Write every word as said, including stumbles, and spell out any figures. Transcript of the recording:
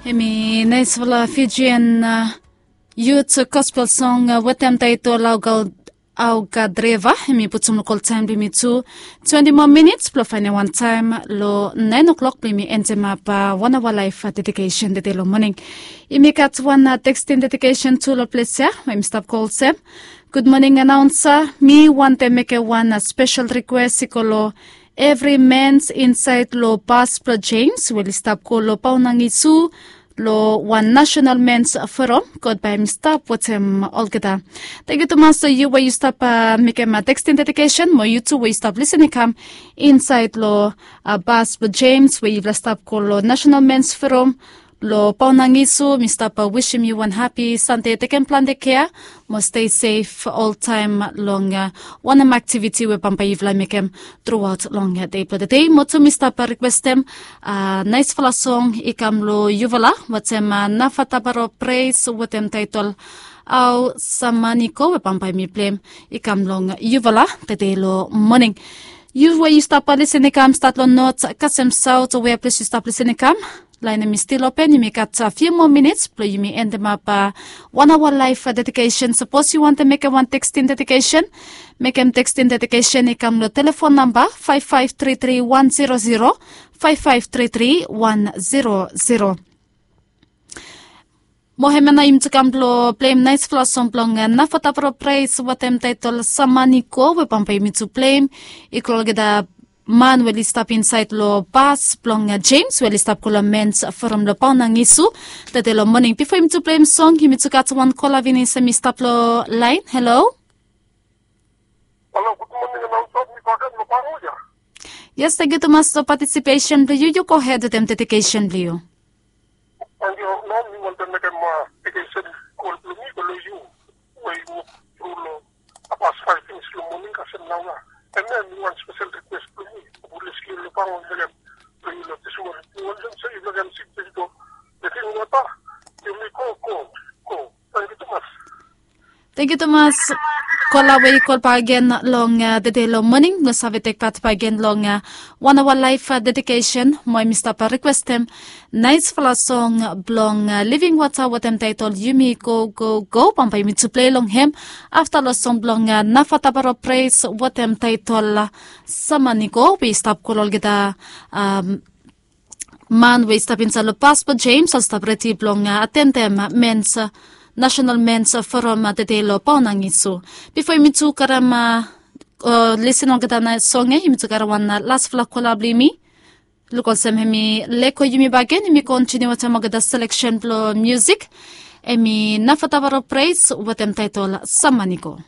Em i naisfala Fijian yut gospel song wetem taitol Au God River. Em i putum long ol taem blong yumi tu twenti moa minits blong faenem wan taem long naen o'klok blong yumi endemap wan aoa laef dedikesen tede long moning. Yumi gat wan tekstin dedikesen tu long ples ya we yumi stap kol olsem, gud moning anaonsa, mi wantem mekem wan spesel rikwes i go long evri mens insaed long bas blong Jems we oli stap go long Paonangisu long wan nasenal mens foram. God bae hem i stap wetem olgeta. Tangkiu tumas long yu we yu stap mekem tekstin dedikesen mo yu tu we yu stap lisin i kam insaed long bas blong Jems we yufala stap go long nasenal mens foram long Paonangisu. Mi stap wisim yu wan hapi Sande, tekem plante kea mo stei sef oltaem long wanem aktiviti we bambae yufala mekem truaot long dei blong tede. Mo tu mi stap rikwestem naesfala song i kam long yufala wetem Nafataparo Pres wetem taetol Au Samanigo we bambae mi pleim i kam long yufala tede long moning. Yu we yu stap lisin i kam stat long not kasem saot o wea ples yu stap lisin i kam, laen hem i stil open. Yumi gat fiu moa minits blong yumi endemap wan aoa laef dedikesen. Sapos yu wantem mekem wan tekstin dedikesen, mekem tekstin dedikesen i kam long telefon namba faef faef tri tri wan zero zero, faef faef tri tri wan zero zero. Mo hemia nao yumi tu kam blong pleim naesfala song blong Nafataparo Pres wetem taetol Samanigo we bambae yumi tu pleim i go long olgeta man we oli stap insaed long bas blong Jems we oli stap go long mens foram long Paonangisu tede long moning. Bifo yumi tu pleim song yumi tu gat wan kola finis hem i stap long laen. Halo. Halo, gud moning anaonsa, mi bakegen long Paonangisu ya. Yes, tangkiu tumas long patisipesen blong yu. Yu gohed wetem dedikesen blong yu. Tangkiu. Nao mi wantem mekem dedikesen kol blong mi i go long yu we yu wok tru long bas faef finis long moning kasem naoia. Hemia mi wan spesel rikwes blong mi. Yu bles yu long Paonangisu blong yu long dismon. Mi wantem se yu mekem sik blong yu go dring wota. Yumi go go go. Tangkiu tumas. Tangkiu tumas. Kola we i kol bakegen long tede long moning blong save tek pat bakegen long wan aoa laef dedikesen. Mo hem i stap rikwestem naesfala song blong Living Water wetem taetol Yumi Go Go Go. Bambae yumi tu plei long hem afta long song blong Nafataparo Pres wetem taetol Samanigo we i stap go long olgeta man we i stap insaed long bas blong Jems oli stap redi blong atendem mens, nasenal mens foram tede long Paonangisu. Bifo yumi tu karem o lisin olgeta naes song ya, yumi tu karem wan lasfala kola blong yumi. Luk olsem hem i lego yumi bakegen. Yumi kontiniu wetem olgeta seleksen blong musik. Hem i Nafataparo Pres wetem taetol Samanigo.